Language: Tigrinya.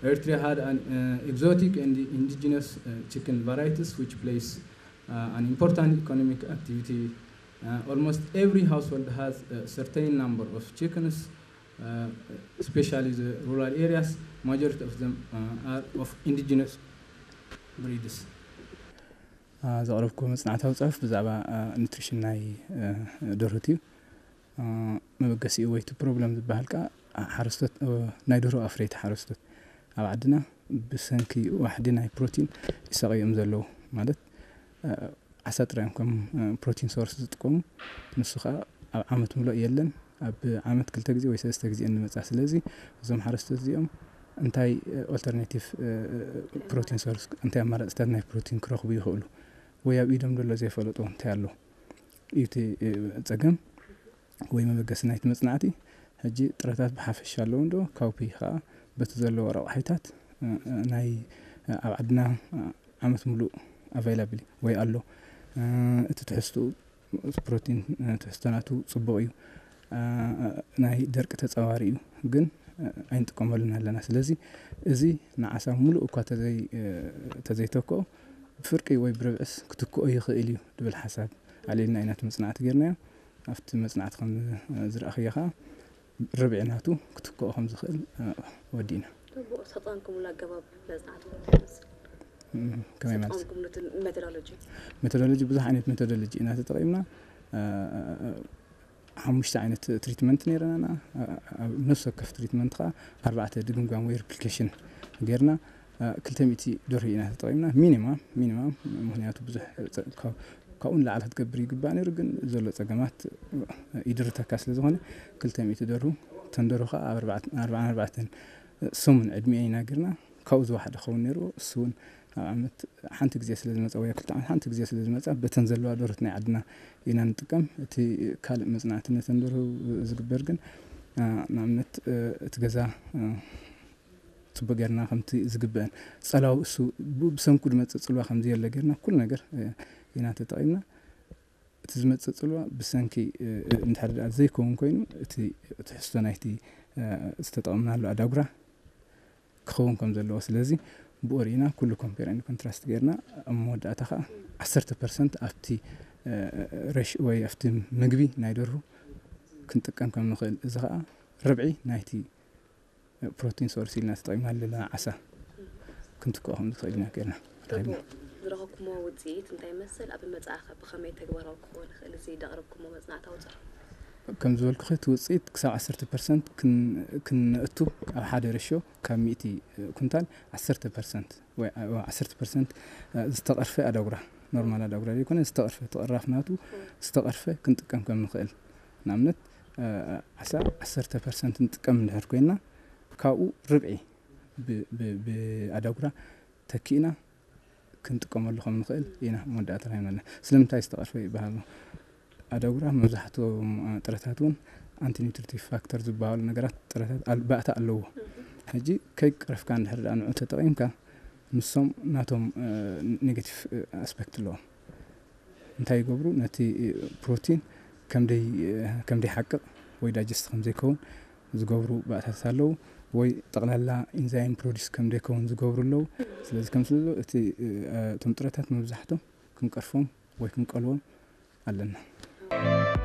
Eritrea had an uh, exotic and indigenous uh, chicken varieties which plays uh, an important economic activity. Uh, almost every household has a certain number of chickens, uh, especially the rural areas. Majority of them uh, are of indigenous breeds. ዘቕረብኩ መፅናዕታዊ ፅሑፍ ብዛዕባ ኑትሪሽን ናይ ደርሁት እዩ። መበገሲኡ ወይ እቲ ፕሮብለም ዝበሃል ከዓ ሓረስቶት ናይ ደርሆ ኣፍረይቲ ሓረስቶት ኣብ ዓድና ብሰንኪ ዋሕዲ ናይ ፕሮቲን ይሳቐዩ እዮም ዘለዉ። ማለት ዓሳ ጥራይ እዮም ከም ፕሮቲን ሶርስ ዝጥቀሙ። ንሱ ከዓ ኣብ ዓመት ምሉእ የለን። ኣብ ዓመት ክልተ ግዜ ወይ ሰለስተ ግዜ እንመፃ። ስለዚ እዞም ሓረስቶት እዚኦም እንታይ ኦልተርኔቲቭ ፕሮቲን ሶርስ፣ እንታይ ኣማራፅታት ናይ ፕሮቲን ክረኽቡ ይኽእሉ? ወይ ኣብ ኢዶም ዘሎ ዘይፈለጦ እንታይ ኣሎ እዩ እቲ ፀገም ወይ መበገሲ ናይቲ መፅናዕቲ። ሕጂ ጥረታት ብሓፈሻ ኣለዉ እንዶ ካውፒ ከዓ በቲ ዘለዎ ረቑሒታት ናይ ኣብ ዓድና ዓመት ሙሉእ ኣቫይላብል ወይ ኣሎ። እቲ ትሕዝትኡ ፕሮቲን ትሕዝቶ ናቱ ፅቡቕ እዩ። ናይ ደርቂ ተፃዋሪ እዩ፣ ግን ኣይንጥቀመሉን ኣለና። ስለዚ እዚ ንዓሳ ሙሉእ እኳ ተዘይተክኦ ብፍርቂ ወይ ብርብዕስ ክትክኦ ይኽእል እዩ ዝብል ሓሳብ ኣልዒልና ኢና እቲ መፅናዕቲ ጌርናዮ። ኣብቲ መፅናዕቲ ከም ዝረኣኽዮ ከዓ ርብዒ ናቱ ክትክኦ ከም ዝኽእል ወዲእና። ተጠቐምኩምሉ ኣገባብ መፅናዕቲ ከመይ ማለት ሜቶዶሎጂ ሜቶዶሎጂ ብዙሕ ዓይነት ሜቶዶሎጂ ኢና ተጠቒምና። ሓሙሽተ ዓይነት ትሪትመንት ነይረና። ኣብ ነፍሲ ወከፍ ትሪትመንት ከዓ ኣርባዕተ ድግምጋም ወይ ሪፕሊኬሽን ጌርና። ክልተ ሚእቲ ደርሁ ኢና ተጠቒምና ሚኒማም ሚኒማም። ምክንያቱ ብዙሕ ካብኡ ንላዕሊ ክትገብር ይግባእ ነይሩ፣ ግን ዘሎ ፀገማት ይድርተካ ስለ ዝኾነ ክልተ ሚእቲ ደርሁ። ተን ደርሁ ከዓ ኣብ ኣርባዓን ኣርባዕተን ሰሙን ዕድሚኤን ኢና ጌርና። ካብኡ ዝወሓደ ክኸውን ነይርዎ። እሱ እውን ኣብ ዓመት ሓንቲ ግዜ ስለ ዝመፃ ወይ ኣብ ክልተ ዓመት ሓንቲ ግዜ ስለ ዝመፃ በተን ዘለዋ ደርሁት ናይ ዓድና ኢና ንጥቀም። እቲ ካልእ መፅናዕቲ ነተን ደርሁ ዝግበር ግን ንኣብነት እቲ ገዛ ፅቡቅ ጌርና ከምቲ ዝግበአን ፀላው እሱ ብሰንኩ ዝመፅእ ፅልዋ ከምዚ የለ ጌርና ኩሉ ነገር ኢና ተጠቒምና። እቲ ዝመፅእ ፅልዋ ብሰንኪ እንድሕር ደኣ ዘይከውን ኮይኑ እቲ ትሕዝቶ ናይቲ ዝተጠቐምናሉ ኣዳጉራ ክኸውን ከም ዘለዎ። ስለዚ ብኡ ርኢና ኩሉ ኮምፔር ኤንድ ኮንትራስት ጌርና ኣብ መወዳእታ ከዓ ዓሰርተ ፐርሰንት ኣብቲ ሬሽ ወይ ኣብቲ ምግቢ ናይ ደርሁ ክንጥቀም ከም ንኽእል፣ እዚ ከዓ ርብዒ ናይቲ ፕሮቲን ሶርስ ኢልና ተጠቂምና ዘለና ዓሳ ክንትክኦ ከም ዝኽእል ኢና ጌርና ረኺብና። ዝረኸብኩሞ ውፅኢት እንታይ ይመስል? ኣብ መፅኣ ከ ብኸመይ ተግባራዊ ክኸውን ይኽእል እዚ ዘቕረብኩሞ መፅናዕታዊ ፅሑፍ? ከም ዝበልኩኺ እቲ ውፅኢት ክሳብ ዓሰርተ ፐርሰንት ክን- ክንእቱ ኣብ ሓደ ሬሽዮ ካብ ሚእቲ ኩንታል ዓሰርተ ፐርሰንት ወይ ዓሰርተ ፐርሰንት ዝተቐርፈ ኣዳጉራ፣ ኖርማል ኣዳጉራ ዘይኮነ ዝተቐርፈ፣ ተቐራፍ ናቱ ዝተቐርፈ ክንጥቀም ከም ንኽእል። ንኣብነት ዓሳ ዓሰርተ ፐርሰንት ንጥቀም እንድሕር ኮይንና ካብኡ ርብዒ ብ- ብ- ብኣዳጉራ ተኪእና ክንጥቀመሉ ከም ንኽእል ኢና መወዳእታ ረኺብና ኣለና። ስለምንታይ ዝተቐርፈ ይበሃል ኣሎ? ኣዳጉራ መብዛሕትኦም ጥረታት እውን ኣንቲ ኒውትሪቲቭ ፋክተር ዝበሃሉ ነገራት ጥረታት ኣል- ባእታ ኣለዎ። ሕጂ ከይቀረፍካ እንድሕር ደኣ ንዑ ተጠቒምካ ንሶም ናቶም ኔጋቲቭ ኣስፔክት ኣለዎም። እንታይ ይገብሩ? ነቲ ፕሮቲን ከም ደይ- ከም ደይሓቅቕ ወይ ዳይጀስት ከም ዘይከውን ዝገብሩ ባእታታት ኣለዉ፣ ወይ ጠቕላላ ኢንዛይም ፕሮዲስ ከም ደይከውን ዝገብሩ ኣለዉ። ስለዚ ከም ስለዚ እቲ እቶም ጥረታት መብዛሕቶም ክንቀርፎም ወይ ክንቀልዎም ኣለና።